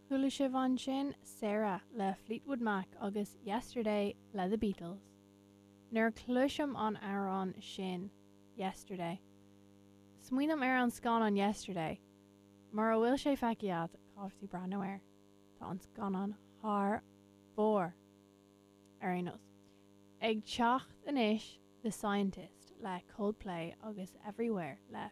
Chuala sibh ansin Sarah le Fleetwood Mac agus Yesterday le The Beatles. Nuair a chloisim an amhrán sin, Yesterday, smaoiním ar an scannán Yesterday. Mura bhfuil sé feicthe agat, caithfidh tú breathnú air. Tá an scannán thar barr! Ar aon nós. Ag teacht anois, The Scientist le Coldplay agus Everywhere le.